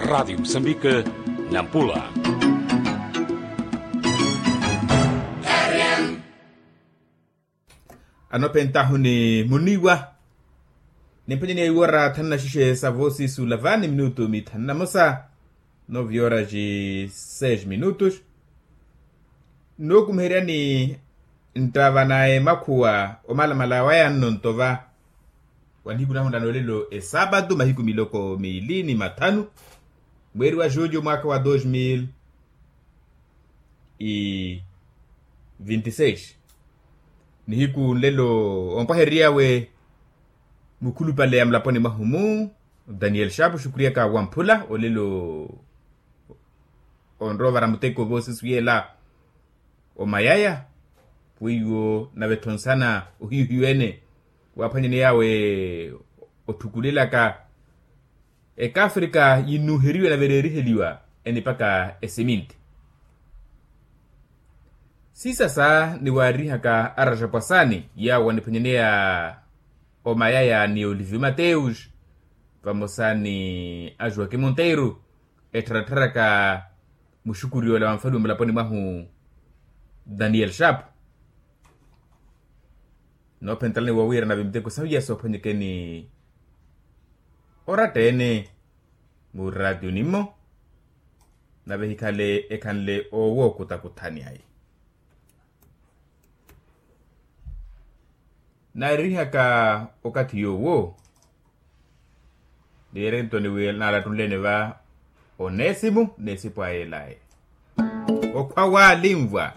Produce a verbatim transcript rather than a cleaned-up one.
Radiyo musambike, nampula. Anophentahu ni muniwa. Nimphwanyeni ya iwora thanu na xixe sa voosisu lava ni minutu mithanu na mosa. Novi horas e seis minutos. Nookumiheryani nttava na emakhuwa omalamala waya nno nto va. Wa nihiku nahu nlano lelo esaapatu mahiku miloko miili ni mathanu, mweeri wa juulyo mwaakha wa dos mil e vinti seis. Nihiku nlelo ompwahery'awe mukhulupale ya mulaponi mwahu mu daniel shapu xukuriyaka wamphula olelo onrowa ovara muteko voosisu yeela omayaya. Weiwo nave-tho nsana ohiyu-hiyu ene waaphwanyaney'awe otthukulelaka ekaafrika yinnuheriwa nave ereeriheliwa enipaka esiminti. Siisasa ni waarihaka araxapwasani yaawo aniphwanyaneya omayaya ni oliviu mateus vamosa ni ajuwaki monteiro ettharattharaka muxukuri ola wa nfaliwa mulaponi mwahu daniel shapu. Noophentelani woowiira nave miteko sahu iya soophwanyekeni oratta-ene muraatiyoni-mmo nave ehikhale ekhanle owo okutakuthani ayi. Naarihaka okathi yoowo niirentoni wi naalattunleni va oneesimu n'esipu aya elaye okhwa waalinvwa.